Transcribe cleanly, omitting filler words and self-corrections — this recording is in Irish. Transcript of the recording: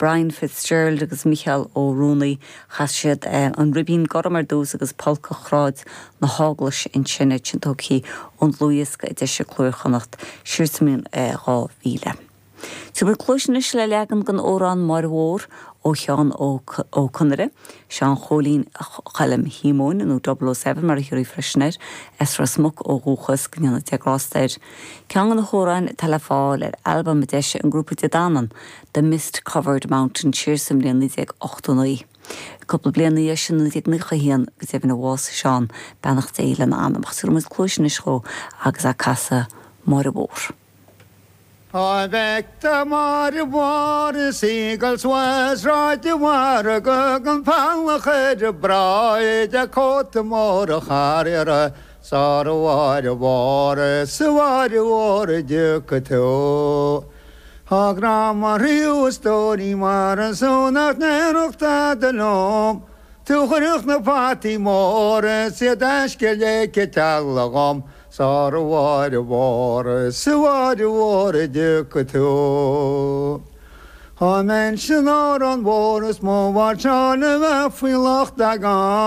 Brian Fitzgerald agus Mícheál Ó Ruanaí. Chas siad An Ribín Gorm ar dtús agus Polca Shráid na hEaglaise ansin, iad sin tógtha ón dlúthdhiosca a d'eisigh Cló Iar-Chonnacht siar sa mbliain 2000. Tabharfaidh muid cluais anois le leagan den amhrán Máire Mhór ó Sheán Ó Conaire, Seán Chóilín Choilm Shíomóin, nó Double O Seven mar a thiúrfaí freisin air, as Ros Muc ó dhúchas, go ndéana Dia grásta air. Ceann de na hamhráin atá le fáil ar albam a d'eisigh an grúpa Dé Danann, The Mist Covered Mountain siar sa mbliain 1989. Cúpla bliain ina dhiaidh sin, 1991, go deimhin a bhásaigh Seán, beannacht Dé lena anam. Ach tabharfaidh muid cluais anois dhó agus é ag casadh Máire Mhór. Dá bhfeicteá Máire Mhór is í ag dul suas Sráid an Mhargaidh gan falach ar a bráid a cóta mór á chur uirthi sara Mháire Mhór is a Mháire Mhór an dtiocfaidh tú. Tá grá mo chroí a stóirín mar is eol nach ndéarfadh tada liom Tú chuirfeadh na fataí móra is iad aisce le citeal dhom Sara Mháire Mhór is a Mháire Mhór an dtiocfaidh tú. Dá mbeinnse in Órán Mhór is mo mháirseáil a bheith faoi locht agam.